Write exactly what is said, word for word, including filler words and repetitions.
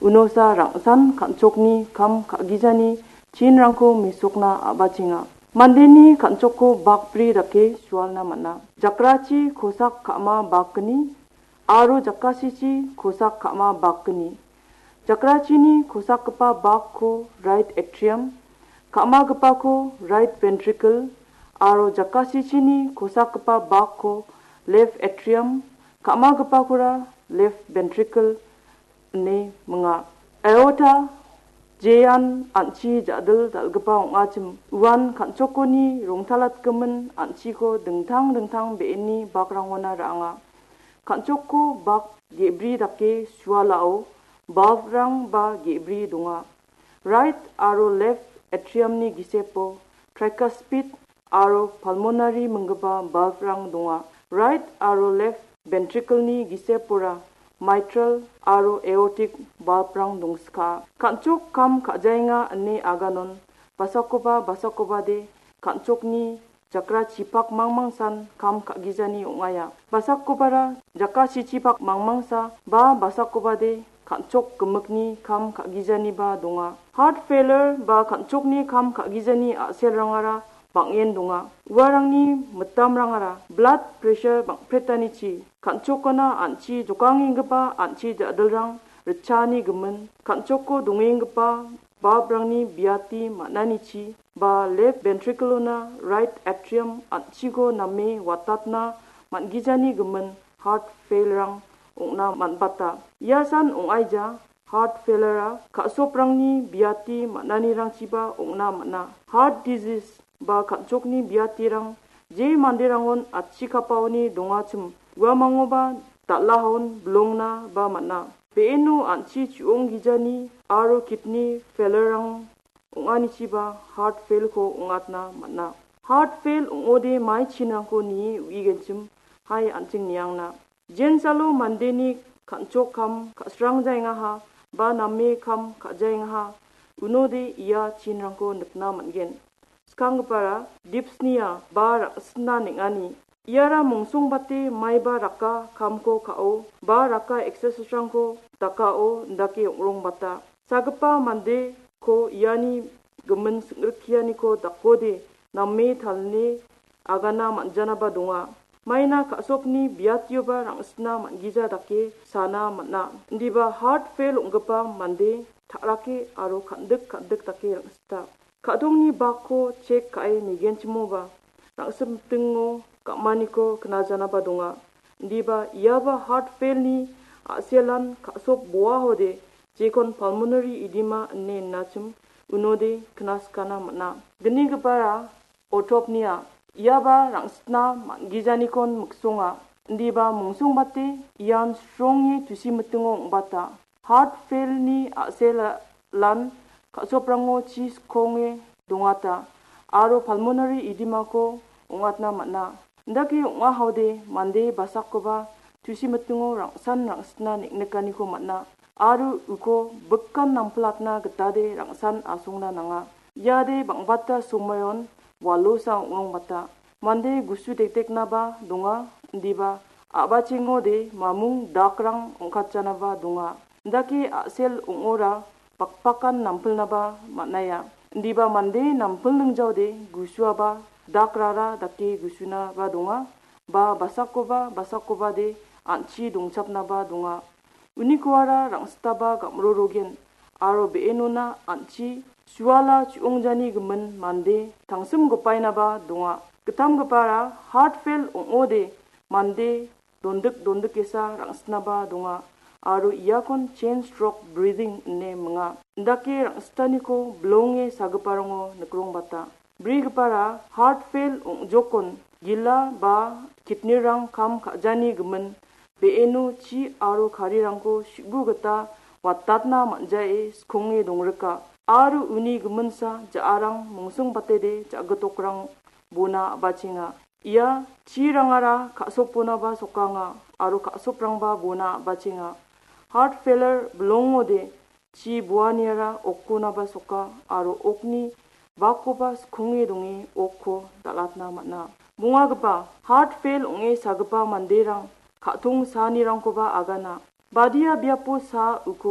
Unosa rangsan kan·chokni kam ka·gijani chinrangko mesokna a·bachenga. Mandeni kan·chokko bakbri dake sualna man·a. Jakrachi kosak ka·ma bakgni aro jakasichi kosak ka·ma bakgni. Jakrachini kosakgipa bakko right atrium, ka·magipako right ventricle, aro jakasichini kosakgipa bakko left atrium, ka·magipakora left ventricle ine minga. Aorta jean an·chi ja·dil dal·gipa ong·achim uan kan·chokoni rongtalatgimin an·chiko dingtang dingtang be·eni bakrangona ra·anga. Kan·chokko bak ge·bri dake sualao valve-rang ba ge·bri donga. Right aro left atrium-ni gisepo tricuspid aro pulmonary minggipa valve-rang donga. Right aro left ventricle-ni gisepora mitral aro aortic valve-rang dongska. Kan·chok kam ka·jaenga ine aganon basakoba basakobade kan·chokni jakrachipak mangmangsan kam ka·gijani ong·aia. Basakobara jakasichipak mangmangsa ba basakobade kan·chok gimikni kam ka·gijaniba donga. Heart failure ba kan·chokni kam ka·gijani a·selrangara bang·en donga. Uarangni mitamrangara blood pressure bang·pretanichi, kan·chokona an·chi jokangenggipa an·chi ja·dilrang ritchaani gimin, kan·choko dongenggipa valve-rangni biati man·anichi, ba left ventricle-ona right atrium an·chiko name watatna man·gijani gimin heart fail-rang ong·na man·bata. Ia san ong·aija heart failure-a ka·soprangni biati man·anirangchiba ong·na man·a. Heart disease ba kan·chokni biatirang je manderangon achikapaoni dongachim, uamangoba dal·ahaon bilongna ba man·a. Be·eno an·chi chu·onggijani aro kidney failure-rang ong·anichiba heart fail-ko ong·atna man·a. Heart fail ong·ode mai chinrangko nie uigenchim, hai an·ching niangna. Jensalo mandeni kan·chok kam ka·srangjaengaha ba name kam ka·jaengaha, unode ia chinrangko nikna man·gen. Skanggipara dyspnea ba rang·sitna neng·ani. Iara mongsongbate maiba raka kamko ka·o ba raka exercise-rangko dakao indake ong·rongbata. Sagipa mandeko iani gimin sing·rikianiko dakode name talni agana man·janaba donga. Maina ka·sokni biatioba rang·sitna man·gija dake sana man·a. Indiba heart fail ong·gipa mande ta·rake aro kan·dik kan·dik dake rang·sita. Ka·dongni bakko chek ka·e nigenchimoba, rang·simtingo gam·aniko knajanaba donga. Indiba iaba heart fail-ni a·selan ka·sop boahode jekon pulmonary edema ine innachim unode knaskana man·a. Gnigipara autopnea, iaba rang·sitna man·gijanikon miksonga. Indiba mongsongbate ian sronge tusi mitingo ong·bata. Heart fail-ni a·selan ka·soprango chi skonge dongata aro pulmonary edema-ko ong·atna man·a. Indake ong·ahaode mande basakoba tusi mitingo rang·san rang·sitna neng·nikaniko man·a aro uko bikan nampilatna gitade rang·san asongna nanga. Iade bang·bata somoion walosa ong·rongbata. Mande gusu dekdeknaba donga, indiba a·bachengode mamung dakrang ong·katjanaba donga. Indake a·sel ong·ora bakbakan nampilnaba man·aia. Indiba mande nampilningjaode gusuaba dakrara dake gusunaba donga, ba basakoba basakobade an·chi dongchapnaba donga. Unikoara rang·sitaba gam·rorogen aro be·enona an·chi suala chu·ongjani gimin mande tangsim gipainaba donga. Gitamgipara heart fail ong·ode mande dondik dondikesa rang·sitnaba donga aro iakon chain stroke breathing ine minga. Indake rang·sitaniko bilonge sagiparango nikrongbata. Brigipara heart fail ong·jokon gila ba kidney-rang kam ka·jani gimin be·eno chi aro karirangko su·bu gita watatna man·jae skonge dongrika aro uni giminsa ja·arang mongsongbatede ja·gitokrang bona a·bachenga. Ia chirangara ka·soponaba sokanga aro ka·soprangba bona a·bachenga. Heart failure bilongode chi boaniara okkonaba soka aro okni bakkoba skonge donge okko dal·atna man·a. Bongagipa heart fail ong·e sagipa manderang ka·tong saanirangkoba agana. Badia biapo sa uko